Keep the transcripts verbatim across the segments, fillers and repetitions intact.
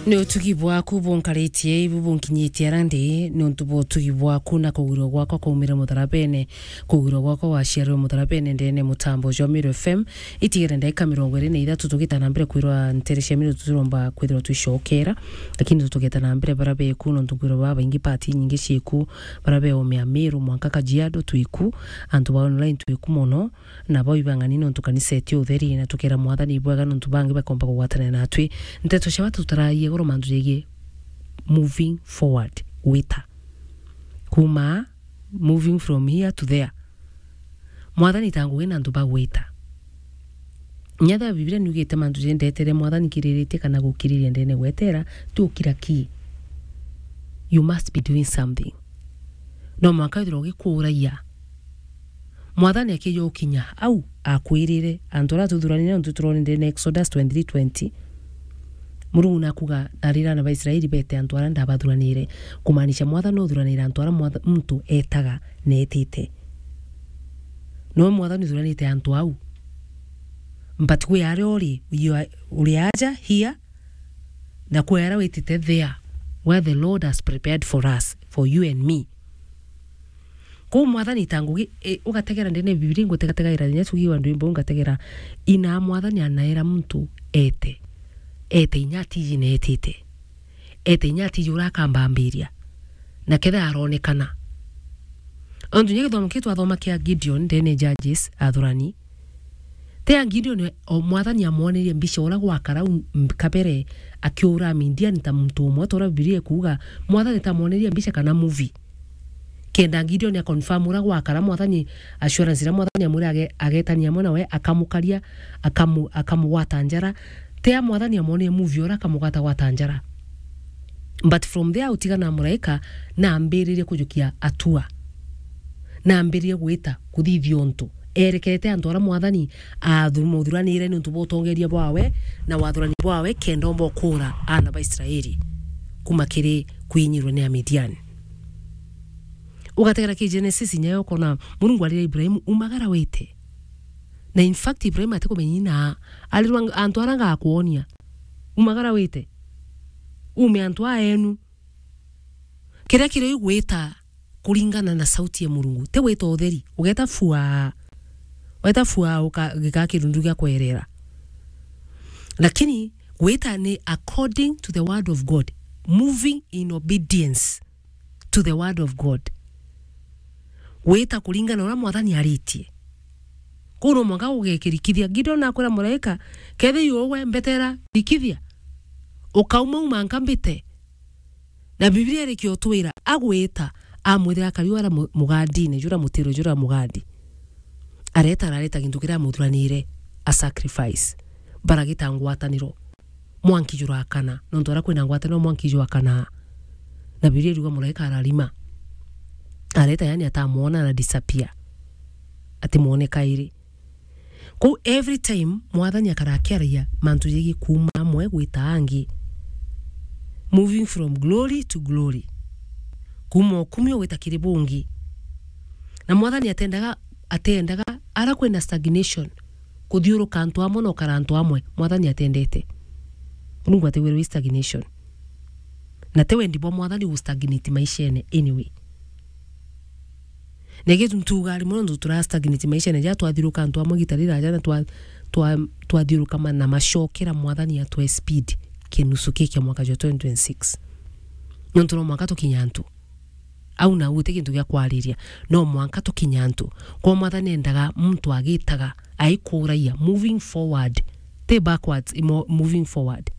Ni utugi bwaku bunkaritie, ibu bunkinyitie ara ndi, ni untu bwa utugi bwaku na kugwirwa gwakwa kwaumire mutharabene, kugwirwa gwakwa gwaciarirwe mutharabene ndene mutambo jwa Meru F M. Itigere ndagika mirongo iri na ithatu tugita na mbere kwirwa ntere cia Meru tutiromba kwithirwa twicokera, lakini tugeta na mbere bara beku, nontu kwirwa babaingi pati nyingi cieku, bara beomea Meru mwanka Kajiado twiku, antu ba online twiku mono, na bau ibang'ani nontu kanisa eti utheri, na tukera Mwathani ibwega nontu bangi bakomba kugwatanira natwi. Nteto cia batu tutaragia iguru mantu jegie moving forward, gwita. Kuma moving from here to there. Mwathani ta ngugi na antu bagwita. Nyatha Biblia niugite mantu jendetere Mwathani kiriritie kana gukiriria ndene gwetera, ti ukira ki. You must be doing something. No mwanka withirwa ugikuuragia. Mwathani akija ukinya au, akwirire, antu aria tuthuranire, nontu turoni ndene Exodus twenty-three twenty, Murungu nakuga, "Arira ana ba Israeli bete antu aria ndabathuranire." Kumaanisha Mwathani uthuranire antu aria mwatha-, muntu etaga na etite. Nowe Mwathani uthuranite antu au. But kwi aria uri, you are, uri aja here, na kwi aria witite there, where the Lord has prepared for us, for you and me. Kou Mwathani ta ngugi, e, ugategera ndene Biblia, ngutegategaira inya tugiwa ndwimbo, ngategera ina Mwathani anaera muntu ete. Ete inya atiji na etite. Ete inya atiji urakambambiria. Na kethe aronekana. Ontu nya githomo kiu twathoma kia Gideon, ndene Judges, athurani. Tea Gideon o Mwathani amwonerie mbica uria gwakara u m-, kabere akiura Midian ta muntu umwe, ta uria Biblia ikuuga, Mwathani ta amwonerie mbica kana movie. Kenda Gideon a confirm uria gwakara, Mwathani assurance iria Mwathani amwira age-, agetania amwe nawe, akamukaria, akamu-, akamugwata njara. Tea Mwathani amwonerie movie uria akamugwatagwata njara. But from there, utigana na muraika, na ambiririe kujukia atua. Na ambiririe gwita, kuthithia untu. Erekete antu aria Mwathani aathu-, muthuranire niuntu bwa utongeria bwawe na wathurani bwawe, kenda omba ukura aana ba Israeli kuma kiri kwinyirwe ni Amidiani. Ugategera ki Genesis, nyayo ukona Murungu arira Ibrahimu, "Umagara wite." Na in fact, Ibrahimu atikumenya ina arirwa antu aria ngakwonia. "Umagara wite. Ume antu aa enu." Kiria kiri gwita kuringana na sauti ya Murungu. Ti gwita utheri. Ugeta fua. Weta fua uka-, gika kirundu gia kwerera. Lakini gwita ni according to the word of God. Moving in obedience to the word of God. Gwita kuringana na uria Mwathani aritie. Kuu no mwanka ugekirikithia. Gideon akwira muraika, "Kethi yuwe mbetera rikithia. Ukauma uma nka mbite." Na Biblia irikia utwira, agwita, amwithira akari uria mu-, mugandine, juria mutiro, juria mugandi. Areta, arareta gintu kiria amuthuranire, a sacrifice. Baragita ngwataniro. Mwanki jurakana, nontu aria kwina ngwataniro mwanki jwakana. Na Biblia iruga muraika ararima. Areta, yani atamwona, ara disappear. Atimwone kairi. Kou every time Mwathani akara akiaragia mantu jegie kuuma amwe gwita angi. Moving from glory to glory. Kuuma ukumio gwita kiri bungi. Na Mwathani atendaga, atendaga ara kwina stagnation, kuthiuruka antu amwe na ukara antu amwe. Mwathani atendete. Murungu atigwirwe stagnation. Na ti wendi bwa Mwathani gu stagnate maishene anyway. Na gitu ntuga rimwe nontu tura stagnate maishene ja twathiuruka antu amwe gita riraja na twa-, twa-, twathiuruka ma-, na macokera Mwathani atwe speed kinusu ki kia mwaka jwa twenty twenty-six. Nontu no mwanka tukinya antu. Au na guti gintu gia kwariria. No mwanka tukinya antu. Kwa Mwathani endaga muntu agitaga, aikuragia, moving forward. Ti backwards, imo-, moving forward.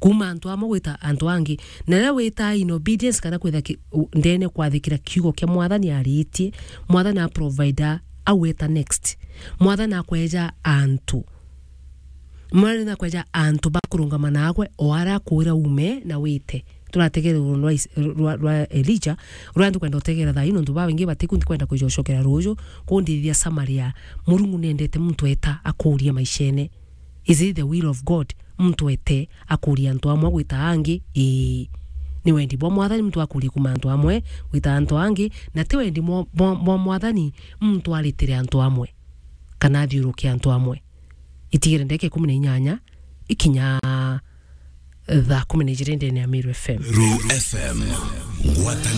Kuuma antu amwe gwita antu angi. Na riria wita in obedience kana kwitha ki-, u-, ndene kwathikira kiugo kia Mwathani aritie, Mwathani a provide a, agweta next. Mwathani akweja antu. Mwathani akweja antu bakurungama naagwe, o aria akwira ume na wite. Turategere ruguru rwa Is-, rwa, rwa Elijah, ruria ntukwenda utegera thaa ii, nontu babaingi batiku ntikwenda kwija ucokera ruju, kuu ndithia Samaria. Murungu nendete muntu eta akuria maishene. Is it the will of God? Muntu ete akuria antu amwe gwita angi? Ii. Ni wendi bwa Mwathani muntu akurie kuuma antu amwe gwita antu angi, na ti wendi mwa-, bwa, bwa Mwathani muntu aritire antu amwe, kana athiuruke antu amwe. Itigere ndagika ikumi na inyanya ikinya thaa kumi na ijiri ndene ya Meru F M. Meru F M, ngwataniro.